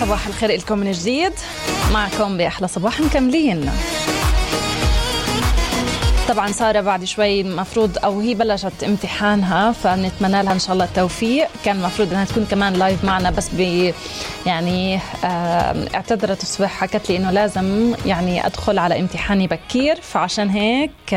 صباح الخير لكم من جديد، معكم بأحلى صباح مكملين. طبعا سارة بعد شوي المفروض أو هي بلشت امتحانها، فنتمنى لها إن شاء الله التوفيق. كان المفروض أنها تكون كمان لايف معنا بس يعني اعتذرت الصبح، حكت لي إنه لازم يعني أدخل على امتحاني بكير، فعشان هيك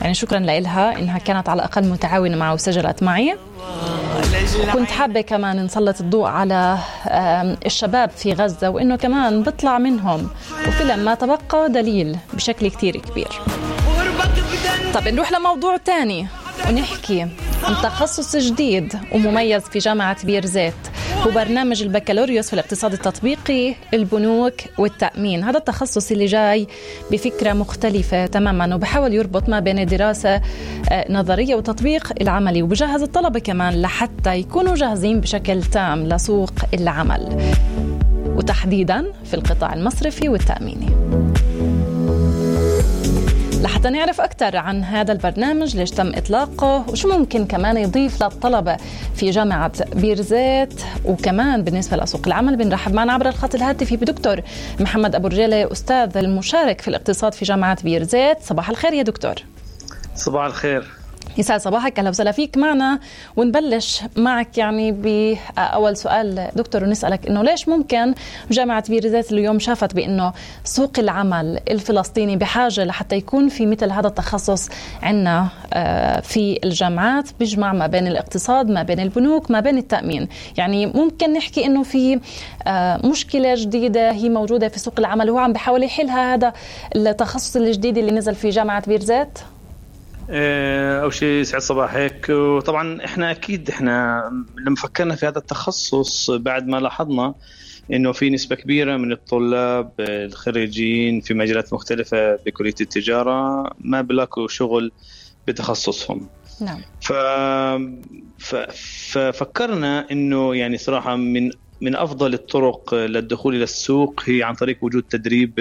يعني شكرا لها إنها كانت على الأقل متعاونة معي وسجلت معي. كنت حابة كمان نسلط الضوء على الشباب في غزة، وإنه كمان بطلع منهم وفي ما تبقى دليل بشكل كتير كبير. طب نروح لموضوع تاني ونحكي عن تخصص جديد ومميز في جامعة بيرزيت، هو برنامج البكالوريوس في الاقتصاد التطبيقي، البنوك والتأمين. هذا التخصص اللي جاي بفكرة مختلفة تماما، وبحاول يربط ما بين الدراسة نظرية وتطبيق العملي، وبجهز الطلبة كمان لحتى يكونوا جاهزين بشكل تام لسوق العمل، وتحديدا في القطاع المصرفي والتأميني. لحتى نعرف أكثر عن هذا البرنامج، ليش تم إطلاقه، وشو ممكن كمان يضيف للطلبة في جامعة بيرزيت، وكمان بالنسبة لسوق العمل، بنرحب معنا عبر الخط الهاتفي بدكتور محمد أبو رجالة، أستاذ المشارك في الاقتصاد في جامعة بيرزيت. صباح الخير يا دكتور. صباح الخير. يسعد صباحك، أهلا وسهلا فيك معنا. ونبلش معك يعني بأول سؤال دكتور، ونسألك إنه ليش ممكن جامعة بيرزيت اليوم شافت بإنه سوق العمل الفلسطيني بحاجة لحتى يكون في مثل هذا التخصص عنا في الجامعات، بيجمع ما بين الاقتصاد، ما بين البنوك، ما بين التأمين. يعني ممكن نحكي إنه في مشكلة جديدة هي موجودة في سوق العمل، وهو عم بحاول يحلها هذا التخصص الجديد اللي نزل في جامعة بيرزيت. أول شيء سعد صباحك. وطبعا احنا لما فكرنا في هذا التخصص بعد ما لاحظنا انه في نسبة كبيرة من الطلاب الخريجين في مجالات مختلفة بكلية التجارة ما بلاقوا شغل بتخصصهم. نعم. ففكرنا انه يعني صراحة من افضل الطرق للدخول الى السوق هي عن طريق وجود تدريب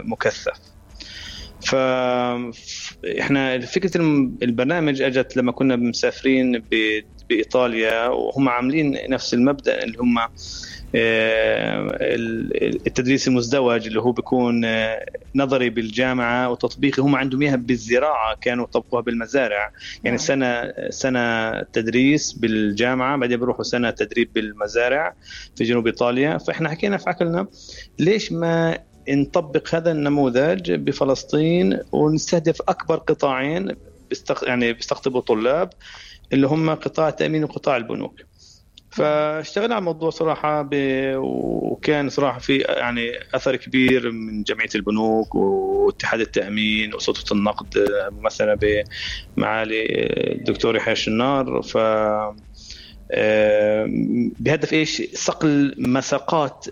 مكثف. فإحنا فكرة البرنامج أجت لما كنا مسافرين بإيطاليا، وهم عاملين نفس المبدأ اللي هم التدريس المزدوج، اللي هو بيكون نظري بالجامعة وتطبيقي. هم عندهم إياها بالزراعة، كانوا طبقوها بالمزارع، يعني سنة تدريس بالجامعة، بعدين بيروحوا سنة تدريب بالمزارع في جنوب إيطاليا. فإحنا حكينا في عقلنا ليش ما نطبق هذا النموذج بفلسطين ونستهدف أكبر قطاعين بيستقطبوا طلاب، اللي هم قطاع التأمين وقطاع البنوك. فاشتغلنا على الموضوع صراحة وكان صراحة في يعني أثر كبير من جمعية البنوك واتحاد التأمين وسلطة النقد ممثلة بمعالي الدكتور يحيى الشنار. بهدف إيش؟ صقل مساقات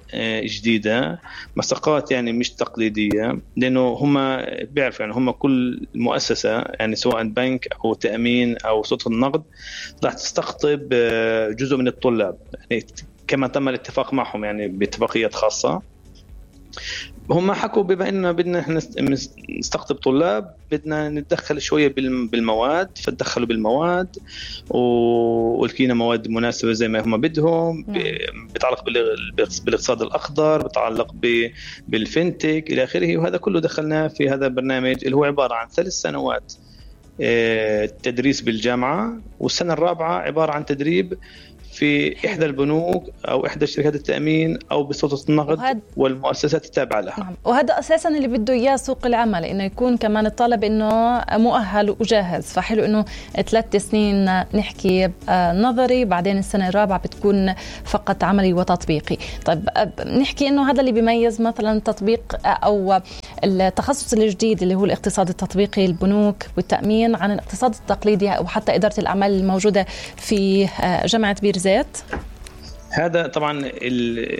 جديدة، مساقات يعني مش تقليدية، لأنه هم بيعرفوا يعني هم كل مؤسسة يعني سواء بنك أو تأمين أو سلطة النقد راح تستقطب جزء من الطلاب، يعني كما تم الاتفاق معهم يعني باتفاقيات خاصة. هم حكوا بما إننا بدنا نستقطب طلاب بدنا نتدخل شوية بالمواد، فتدخلوا بالمواد ولقينا مواد مناسبة زي ما هم بدهم، بتعلق بالاقتصاد الأخضر، بتعلق بالفينتك إلى آخره. وهذا كله دخلناه في هذا البرنامج اللي هو عبارة عن 3 سنوات تدريس بالجامعة، والسنة الرابعة عبارة عن تدريب في إحدى البنوك أو إحدى شركات التأمين أو بسلطة النقد والمؤسسات التابعة لها. نعم. وهذا أساساً اللي بده إياه سوق العمل، إنه يكون كمان الطالب إنه مؤهل وجاهز. فحلو إنه 3 سنين نحكي نظري، بعدين السنة الرابعة بتكون فقط عملي وتطبيقي. طيب نحكي إنه هذا اللي بيميز مثلاً تطبيق أو التخصص الجديد اللي هو الاقتصاد التطبيقي، البنوك والتأمين، عن الاقتصاد التقليدي أو حتى إدارة الأعمال الموجودة في جامعة بيرزيت. هذا طبعا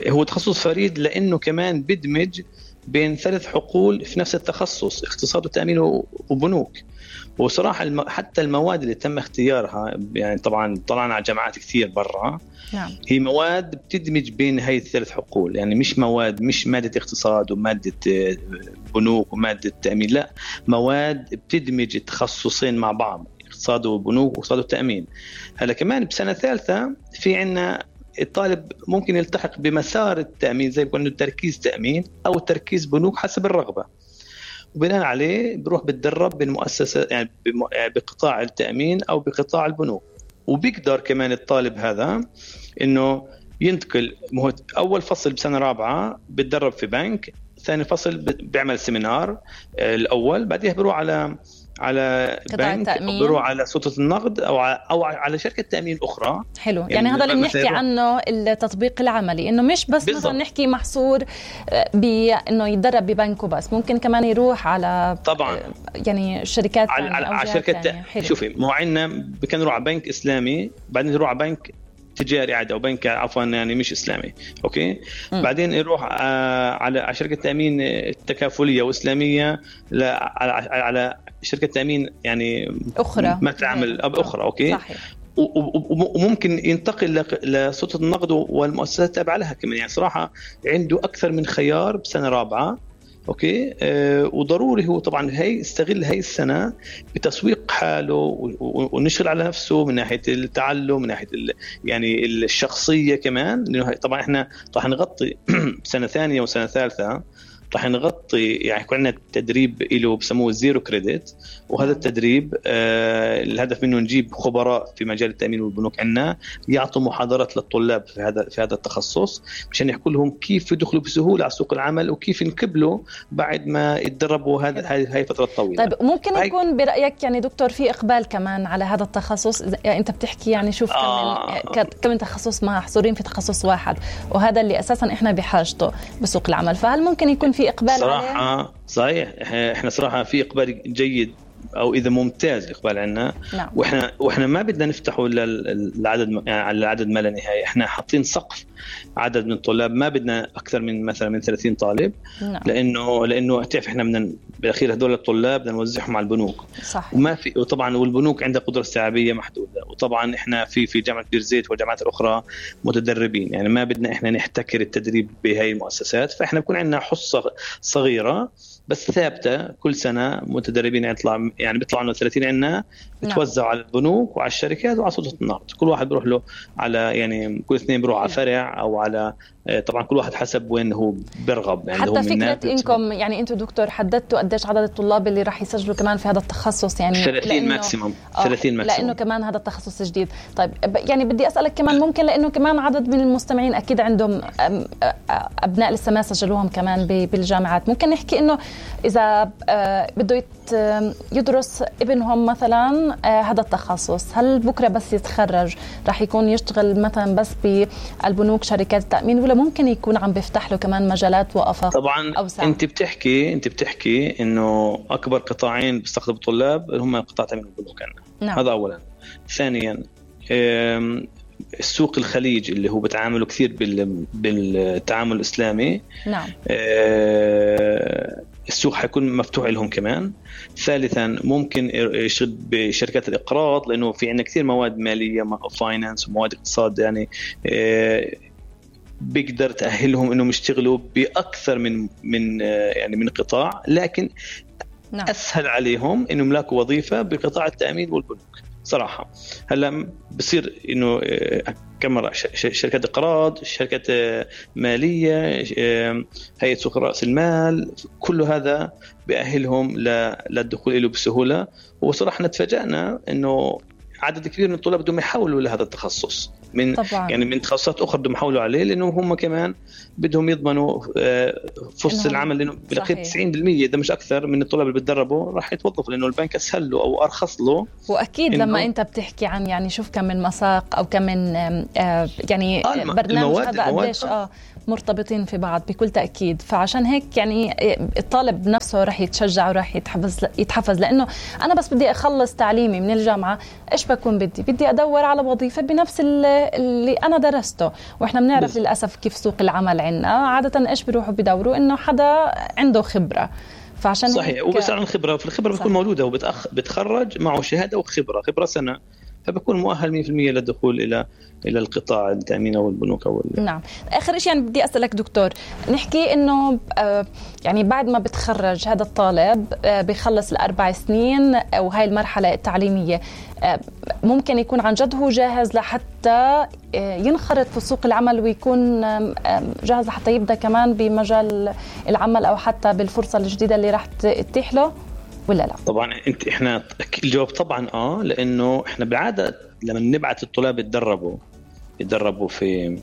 هو تخصص فريد لأنه كمان بدمج بين 3 حقول في نفس التخصص، اقتصاد وتأمين وبنوك. وصراحة حتى المواد اللي تم اختيارها يعني طبعا طلعنا على جامعات كثير برا. نعم. هي مواد بتدمج بين هاي ال3 حقول، يعني مش مادة اقتصاد ومادة بنوك ومادة تأمين، لا، مواد بتدمج التخصصين مع بعض، اقتصاد وبنوك واقتصاد وتأمين. هلا كمان بسنة ثالثة في عنا الطالب ممكن يلتحق بمسار التأمين زي ما قلنا تركيز تأمين أو تركيز بنوك حسب الرغبة، وبناء عليه بروح بتدرب بالمؤسسة يعني بقطاع التأمين أو بقطاع البنوك. وبيقدر كمان الطالب هذا إنه ينتقل، أول فصل بسنة رابعة بتدرب في بنك، ثاني فصل بيعمل سيمينار الأول، بعدها بروح على بنك، بروح على سلطة النقد أو على شركة تأمين أخرى. حلو، يعني هذا اللي بنحكي عنه التطبيق العملي، إنه مش بس بالضبط. مثلا نحكي محصور بإنه يتدرب ببنك وبس، ممكن كمان يروح على طبعا يعني شركات على شركة شوفي مو عنا كان يروح على بنك إسلامي، بعدين يروح على بنك تجاري عادي او بنك عفوا يعني مش اسلامي، اوكي. بعدين يروح على شركه تامين تكافليه واسلاميه، على شركه تامين يعني اخرى ما تعمل اخرى، اوكي صحيح. وممكن ينتقل لسلطه النقد والمؤسسات التابعه لها كمان. يعني صراحه عنده اكثر من خيار بسنه رابعه، اوكي. وضروري هو طبعا يستغل هاي السنه بتسويق حاله ونشغل على نفسه من ناحيه التعلم، من ناحيه يعني الشخصيه كمان، لانه طبعا احنا راح نغطي سنه ثانيه وسنه ثالثه، راح نغطي يعني يكون عندنا تدريب له بسموه زيرو كريدت، وهذا التدريب الهدف منه نجيب خبراء في مجال التأمين والبنوك عنا يعطوا محاضرات للطلاب في هذا التخصص مشان يحكوا لهم كيف يدخلوا بسهولة على سوق العمل وكيف ينقبلوا بعد ما يتدربوا هاي فترة طويلة. طيب ممكن يكون برأيك يعني دكتور في إقبال كمان على هذا التخصص؟ يعني أنت بتحكي يعني شوف كم تخصص محصورين في تخصص واحد، وهذا اللي أساسا إحنا بحاجته بسوق العمل، فهل ممكن يكون في إقبال صراحة عليه؟ صحيح، احنا صراحة في إقبال جيد او اذا ممتاز اقبال عنا. نعم. واحنا ما بدنا نفتحه للعدد يعني على العدد ما لا نهايه، احنا حاطين سقف عدد من الطلاب، ما بدنا اكثر من مثلا من 30 طالب. نعم. لانه تعرف احنا بدنا بالاخير هذول الطلاب بدنا نوزعهم على البنوك. صح. وما في، وطبعا والبنوك عندها قدره استيعابيه محدوده، وطبعا احنا في جامعه بير زيت والجامعات الاخرى متدربين، يعني ما بدنا احنا نحتكر التدريب بهاي المؤسسات، فاحنا بكون عندنا حصه صغيره بس ثابته كل سنه متدربين يعني بيطلعوا لنا 30 عنا بتوزعوا على البنوك وعلى الشركات وعلى سلطه النقد، كل واحد بيروح له على يعني كل اثنين بيروح على فرع او على طبعا كل واحد حسب وين هو برغب. يعني حتى فكره انكم يعني انتم دكتور حددتوا قديش عدد الطلاب اللي راح يسجلوا كمان في هذا التخصص؟ يعني 30 ماكسيموم، 30 ماكسيموم، لانه كمان هذا التخصص جديد. طيب يعني بدي اسالك كمان ممكن لانه كمان عدد من المستمعين اكيد عندهم ابناء لسه ما سجلوهم كمان بالجامعات، ممكن نحكي انه اذا بده يدرس ابنهم مثلا هذا التخصص، هل بكره بس يتخرج راح يكون يشتغل مثلا بس بالبنوك شركات التأمين، ولا ممكن يكون عم بيفتح له كمان مجالات وآفاق طبعا أوسع؟ انت بتحكي انه اكبر قطاعين بيستقطبوا الطلاب هم قطاع التأمين والبنوك. نعم. هذا اولا. ثانيا السوق الخليج اللي هو بتعاملوا كثير بالتعامل الإسلامي. نعم. السوق حيكون مفتوح لهم كمان. ثالثا ممكن يشتغل بشركات الإقراض، لأنه في عندنا كثير مواد مالية فاينانس ومواد اقتصاد، يعني بيقدر تأهلهم إنهم يشتغلوا بأكثر من قطاع، لكن نعم. أسهل عليهم إنهم يملكوا وظيفة بقطاع التأمين والبنوك صراحة. هلا بصير إنه كم شركات إقراض، شركات مالية، هيئة سوق رأس المال، كل هذا بيأهلهم للدخول له بسهولة. وصراحة نتفاجأنا إنه عدد كبير من الطلاب بدهم يحولوا لهذا التخصص من طبعاً. يعني من تخصصات أخرى بدهم يحولوا عليه، لأنه هم كمان بدهم يضمنوا فرصة العمل، لأنه بالأخير 90% إذا مش أكثر من الطلاب اللي بتدربوا راح يتوظفوا، لأنه البنك أسهل له أو أرخص له. وأكيد لما أنت بتحكي عن يعني شوف كم من مساق أو كم من يعني برنامج هذا قديش مرتبطين في بعض بكل تأكيد. فعشان هيك يعني الطالب نفسه راح يتشجع وراح يتحفز، لأنه أنا بس بدي أخلص تعليمي من الجامعة، إيش بكون بدي أدور على وظيفة بنفس اللي أنا درسته. وإحنا بنعرف للأسف كيف سوق العمل عنا عادة إيش بيروحوا بدوروا إنه حدا عنده خبرة. فعشان صحيح، وبس عن الخبرة، في الخبرة بتكون موجودة، وبتخرج معه شهادة وخبرة سنة فبكون مؤهل 100% للدخول إلى القطاع التأمين أو البنوك أو نعم. آخر شيء يعني بدي أسألك دكتور، نحكي إنه يعني بعد ما بتخرج هذا الطالب بيخلص ال4 سنين أو هاي المرحلة التعليمية، ممكن يكون عن جد هو جاهز لحتى ينخرط في سوق العمل ويكون جاهز لحتى يبدأ كمان بمجال العمل أو حتى بالفرصة الجديدة اللي راح تتيح له ولا لا؟ طبعا احنا الجواب طبعا لأنه احنا بعادة لما نبعث الطلاب يتدربوا في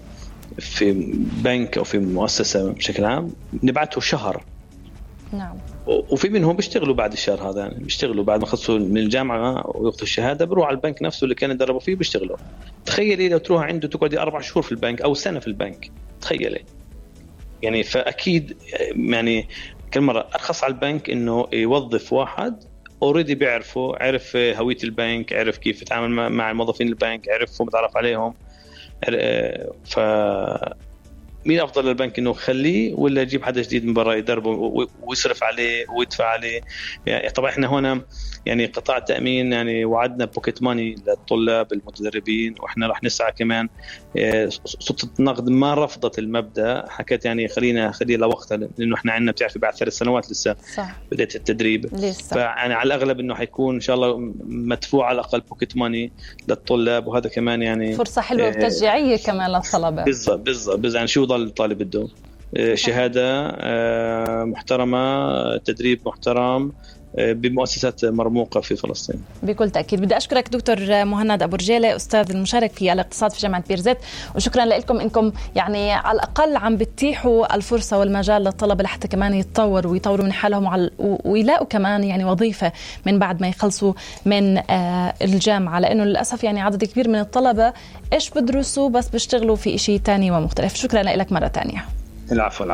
بنك أو في مؤسسة بشكل عام نبعثه شهر. نعم. وفي منهم بيشتغلوا بعد الشهر هذا، يعني بيشتغلوا بعد ما خلصوا من الجامعة وياخذوا الشهادة بروح على البنك نفسه اللي كانوا يدربوا فيه بيشتغلوا. تخيلي لو تروح عنده تقعدي 4 شهور في البنك أو سنة في البنك، تخيلي يعني. فأكيد يعني كل مرة أرخص على البنك إنه يوظف واحد أوريدي بيعرفه، عرف هوية البنك، عرف كيف يتعامل مع الموظفين البنك، عرف متعرف عليهم. مين أفضل للبنك إنه خليه ولا يجيب حدا جديد من برا يدربه ويصرف عليه ويدفع عليه؟ يعني طبعا إحنا هنا يعني قطاع التأمين يعني وعدنا بوكيت ماني للطلاب المتدربين، وإحنا راح نسعى كمان. سلطة النقد ما رفضت المبدأ، حكت يعني خلينا لوقتها، لأنه إحنا عندنا بتعرفي بعد 3 سنوات لسه صح. بدأت التدريب لسه. فيعني على الأغلب إنه حيكون إن شاء الله مدفوع على الأقل بوكيت ماني للطلاب، وهذا كمان يعني فرصة حلوة وتشجيعية كمان للطلبة. بالضبط يعني شو ضل الطالب بده؟ شهادة محترمة، تدريب محترم بمؤسسات مرموقة في فلسطين. بكل تأكيد. بدي أشكرك دكتور مهند أبو رجالة، أستاذ المشارك في الاقتصاد في جامعة بيرزيت، وشكرا لكم إنكم يعني على الأقل عم بتتيحوا الفرصة والمجال للطلبة لحتى كمان يتطوروا ويطوروا من حالهم ويلاقوا كمان يعني وظيفة من بعد ما يخلصوا من الجامعة، لأنه للأسف يعني عدد كبير من الطلبة إيش بدرسوا بس بيشتغلوا في إشي تاني ومختلف. شكرا لك مرة تانية. العفو.